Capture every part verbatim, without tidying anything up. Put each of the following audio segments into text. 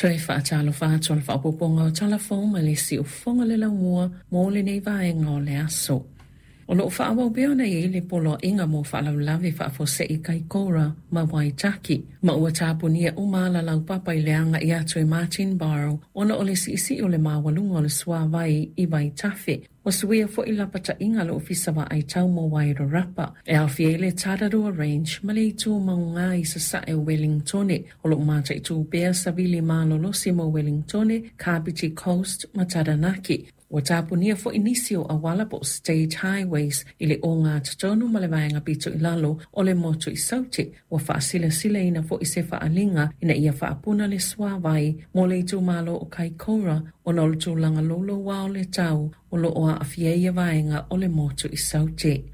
Toe faatalofa atu o le faaopoopoga o Tala Fou ma le Siufofoga le laumua mo lenei vaega o le aso. O loo faaauau pea ona i ai le poloaiga mo faalavelave faafuasei Kaikoura ma Waitaki, ma ua tapunia uma ala laupapa i le agai atu i Martinborough ona o le siisii o le maualuga o le suāwai i Vaitafe. Ua suia foi lapataiga a le Ofisa Vaai Tau mo Wairarapa e aofia ai le Tararua Range ma le itu mauga i sasae o Wellingtone. O loo mataitu pea savili malolosi mo Wellingtone, Kapiti Coast ma Taranaki. Ua tapunia foi nisi o auala po o state highways i le ogatotonu ma le vaega pito i lalo o le motu i Saute. Ua faasilasilaina foi se faaliga ina ia faapuna le suāwai mo le itumalo o Kaikoura ona o le tulaga louloua o le tau o loo aafia ia vaega o le motu i Saute.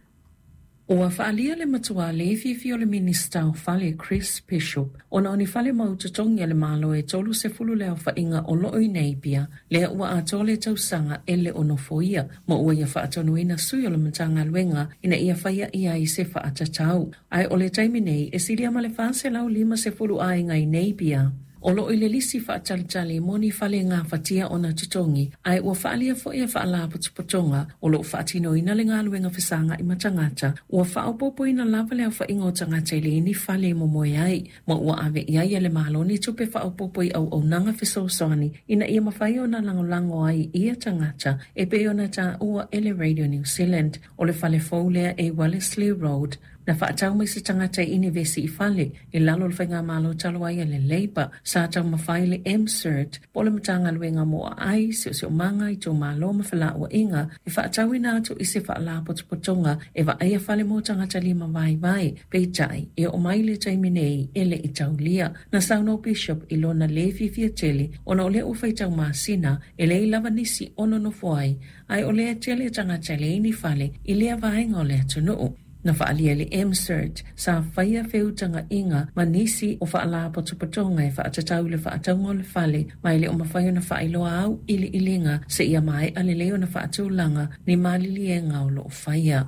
Ua faalia le matua le fiafia o le Minista o Fale Chris Bishop ona o ni fale mau totogi a le Malo e tolu sefulu le aofaiga o loo i Napier, lea ua atoa le tausaga e le o nofoia, ma ua ia faatonuina sui o le Matagaluega ina ia faia i ai se faatatau. Ae o le taimi nei e silia ma le fa selau lima sefulu aiga i Napier o loo i le lisi faatalitali mo ni fale gafatia ona totogi, ae ua faalia foi e faalapotopotoga o loo faatinoina le galuega fesagai ma tagata ua faaopoopoina lava le aofaiga o tagata e leai ni fale e momoe ai, ma ua ave i ai e le Malo ni tupe faaopoopo i auaunaga fesoasoani ina ia mafai ona lagolago ai ia tagata e pei ona taua e le Radio New Zealand. O le fale fou lea e Wellesley Road na faatau mai se tagata i inivesi i fale i lalo o le faigamalo talu ai a le Labour. Sa taumafai le M C E R T po o le Matagaluega mo Aai, Siosiomaga, Itumalo ma Felauaiga e faatauina atu i se faalapotopotoga e vaaia fale mo tagata lima vaivai, peitai e oo mai le taimi nei e le i taulia. Na saunoa Bishop i lona lē fiafia tele ona o lea ua faitau masina e leai lava nisi o nonofo ai, ae o lea tele tagata e leai ni fale i lea vaega o le atunuu. Na faalia le M C E R T sa faia feutagaiga ma nisi o faalapotopotoga e faatatau i le faatauga o le fale, ma e le o mafai ona faailoa au iliiliga seia maea lelei ona faatulaga ni maliliega o loo faia.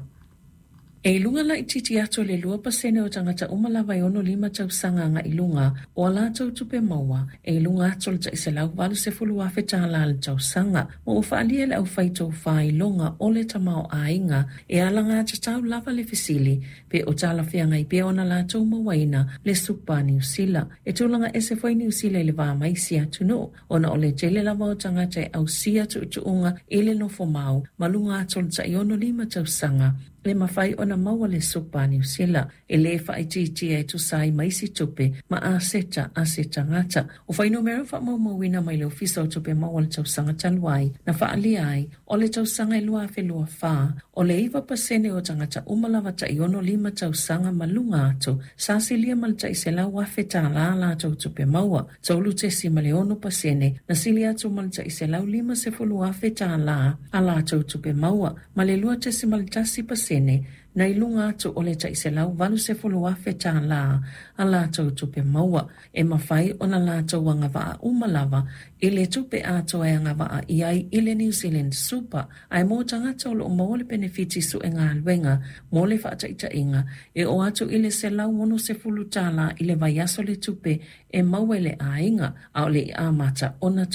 E i luga laitiiti atu o le lua pasene o tagata uma lava e ono lima tausaga agai luga o a latou tupe maua e i luga atu o le tai selau valu sefulu afe tālā le tausaga, ma ua faalia le aufai faitaufa o le tamaoaiga e alagatatau lava le fesili pe o talafeagai pea ona latou mauaina le Supa Niu Sila. E tulaga ese foi Niu Sila i le va ma isi atunuu ona o le tele lava o tagata e ausia tuutuuga i le nofo mau ma luga atu o le tai ono lima tausaga e mafai ona maua le Supa Niu Sila e lē faaitiitia e tusa ai ma isi tupe ma aseta a se tagata. O fuainumera faamaumauina mai le Ofisa o Tupe Maua le tausaga talu ai na faaalia ai o le tausaga e lua afe lua fa, o le iva pasene o tagata uma lava tai ono lima tausaga ma luga atu sa silia ma le tai selau afe tālā latou tupe maua. Tolu tesi ma le ono pasene na sili atu ma le tai selau lima sefulu afe tālā a latou tupe maua, ma le lua tesi ma le tasi pasene na i luga atu o le tai selau valu sefulu afe tālā a latou tupe maua. E mafai ona latou agavaa uma lava i le tupe atoa e agavaa i ai i le New Zealand Super, ae mo tagata o loo maua le penefiti suegaluega, mo le faataitaiga, e oo atu i le selau ono sefulu tālā i le vaiaso le tupe e maua i le aiga a o le i amata ona